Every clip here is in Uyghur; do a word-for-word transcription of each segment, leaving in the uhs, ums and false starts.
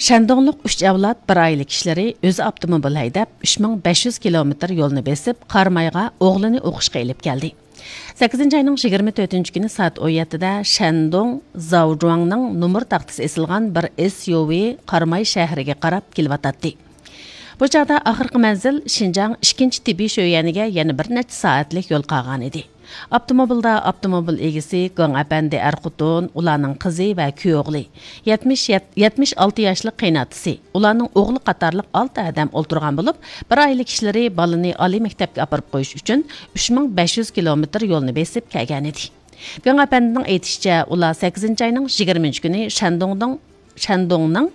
شەندۇڭلۇق ئۈچ ئەۋلاد بىر ئائىلە كىشىلىرى ئۆزى ئاپتوموبىل ھەيدەپ، ئۈچ مىڭ بەش يۈز كىلومېتىر يولنى بېسىپ، قارامايغا ئوغلىنى ئوقۇشقا ئېلىپ كەلدى. سەككىزىنچى ئاينىڭ يىگىرمە تۆتىنچى كۈنى سائەت ئون يەتتىدە شەندۇڭ زاۋجۇاڭنىڭ نومۇر تاختىسى ئېسىلغان بىر ئېس يۇ ۋى قاراماي شەھىرىگە قاراپ كېلىۋاتاتتى. بۇ چاغدا ئاخىرقى مەنزىل شىنجاڭ ئىككىنچى تىببىي شۆيۈەنىگە يەنە بىر نەچچە سائەتلىك يول قالغانىدى. ئاپتوموبىلدا ئاپتوموبىل ئىگىسى گاڭ ئەپەندى ئەر-خوتۇن، ئۇلارنىڭ قىزى ۋە كۈيئوغلى، يەتمىش، يەتمىش ئالتە ياشلىق قېيىنئاتىسى، ئۇلارنىڭ ئوغلى قاتارلىق ئالتە ئادەم ئولتۇرغان بولۇپ، بىر ئائىلە كىشىلىرى بالىنى ئالىي مەكتەپكە ئاپىرىپ قويۇش ئۈچۈن ئۈچ مىڭ بەش يۈز كىلومېتىر يولنى بېسىپ كەلگەنىدى. گاڭ ئەپەندىنىڭ ئېيتىشىچە، ئۇلار سەككىزىنچى ئاينىڭ يىگىرمىنچى كۈنى شەندۇڭنىڭ شەندۇڭنىڭ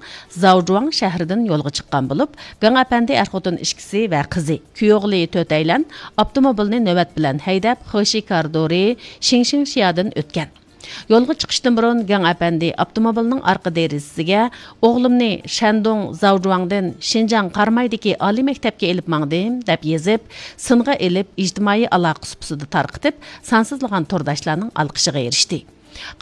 زاۋجۇاڭ شەھىرىدىن يولغا چىققان بولۇپ، گاڭ ئەپەندى ئەر-خوتۇن ئىككىسى ۋە قىزى، كۈيئوغلى تۆتەيلەن ئاپتوموبىلنى نۆۋەت بىلەن ھەيدەپ، خېشى كارىدورى شىڭشىڭشيادىن ئۆتكەن. يولغا چىقىشتىن بۇرۇن گاڭ ئەپەندى ئاپتوموبىلنىڭ ئارقا دېرىزىسىگە «ئوغلۇمنى شەندۇڭ زاۋجۇاڭدىن شىنجاڭ قارامايدىكى ئالىي مەكتەپكە ئېلىپ ماڭدىم» دەپ يېزىپ، سىنغا ئېلىپ، ئىجتىمائىي ئالاقە سۇپىسىدا تارقىتىپ، سانسىزلىغان تورداشلارنىڭ ئالقىشىغا ئېرىشتى.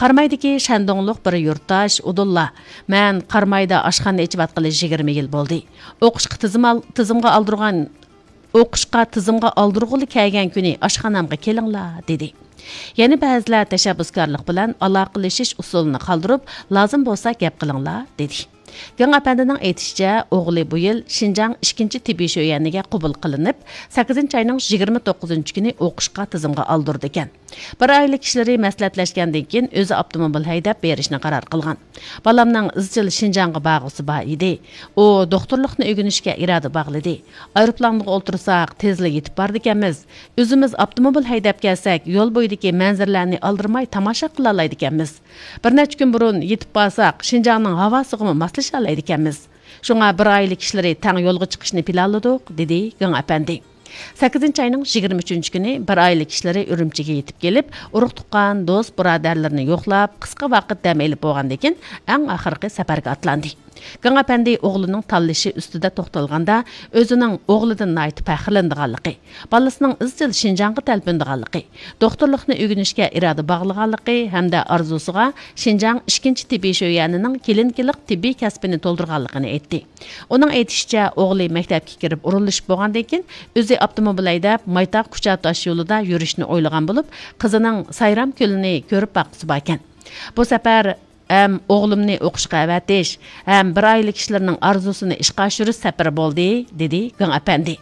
قارامايدىكى شەندۇڭلۇق بىر يۇرتداش ئۇدۇللا، «مەن قارامايدا ئاشخانا ئېچىۋاتقىلى يىگىرمە يىل بولدى. ئوقۇشقا تىزىم ئال-، تىزىمغا ئالدۇرغان، ئوقۇشقا تىزىمغا ئالدۇرغىلى كەلگەن كۈنى ئاشخانامغا كېلىڭلار» دېدى. يەنە بەزىلەر تەشەببۇسكارلىق بىلەن ئالاقىلىشىش ئۇسۇلىنى قالدۇرۇپ، «لازىم بولسا گەپ قىلىڭلار» دېدى. گېڭ ئەپەندىنىڭ ئېيتىشىچە، ئوغلى بۇ يىل شىنجاڭ ئىككىنچى تىببىي شۆيەنىگە قوبۇل قىلىنىپ، سەككىزىنچى ئاينىڭ يىگىرمە توققۇزىنچى كۈنى ئوقۇشقا تىزىمغا ئالدۇرىدىكەن. بىر ئائىلە كىشىلىرى مەسلىھەتلەشكەندىن كېيىن، ئۆزى ئاپتوموبىل ھەيدەپ بېرىشنى قارار قىلغان. بالامنىڭ ئىزچىل شىنجاڭغا بارغۇسى بار ئىدى. ئۇ دوختۇرلۇقنى ئۆگىنىشكە ئىرادە باغلىدى. ئايروپىلانغا ئولتۇرساق، تېزلا يېتىپ بارىدىكەنمىز. ئۆزىمىز ئاپتوموبىل ھەيدەپ كەلسەك، يول بويىدىكى مەنزىرىلەرنى ئالدىرىماي تاماشا قىلالايدىكەنمىز. بىر نەچچە كۈن بۇرۇن يېتىپ بارساق، شىنجاڭنىڭ ھاۋاسىغىمۇ ماسلىشالايدىكەنمىز. شۇڭا بىر ئائىلە كىشىلىرى تەڭ يولغا چىقىشنى پىلانلىدۇق، دېدى گېڭ ئەپەندى. سەككىزىنچى ئاينىڭ يىگىرمە ئۈچىنچى كۈنى بىر ئائىلە كىشىلىرى ئۈرۈمچىگە يېتىپ كېلىپ، ئۇرۇق-تۇغقان، دوست-بۇرادەرلىرىنى يوقلاپ، قىسقا ۋاقىت دەم ئېلىپ بولغاندىن كېيىن، ئەڭ ئاخىرقى سەپەرگە ئاتلاندى. گېڭ ئەپەندى ئوغلىنىڭ تاللىشى ئۈستىدە توختالغاندا، ئۆزىنىڭ ئوغلىدىن ناھايىتى پەخىرلىنىدىغانلىقى، بالىسىنىڭ ئىزچىل شىنجاڭغا تەلپۈنىدىغانلىقى، دوختۇرلۇقنى ئۆگىنىشكە ئىرادە باغلىغانلىقى ھەمدە ئارزۇسىغا شىنجاڭ ئىككىنچى تېببىي شۆيەنىنىڭ كلىنىكىلىق تېببىي كەسپىنى تولدۇرغانلىقىنى ئېيتتى. ئۇنىڭ ئېيتىشىچە، ئوغلى مەكتەپكە كىرىپ ئورۇنلىشىپ بولغاندىن كېيىن، ئۆزى ئاپتوموبىل ھەيدەپ، مايتاغ كۇچا تاش يولىدا يۈرۈشنى ئويلىغان بولۇپ، قىزىنىڭ سايرام كۆلىنى كۆرۈپ باققۇسى باركەن. بۇ سەپەر ھەم ئوغلۇمنى ئوقۇشقا ئەۋەتىش، ھەم بىر ئائىلە كىشىلىرىنىڭ ئارزۇسىنى ئىشقا ئاشۇرۇش سەپىرى بولدى، دېدى گېڭ ئەپەندى.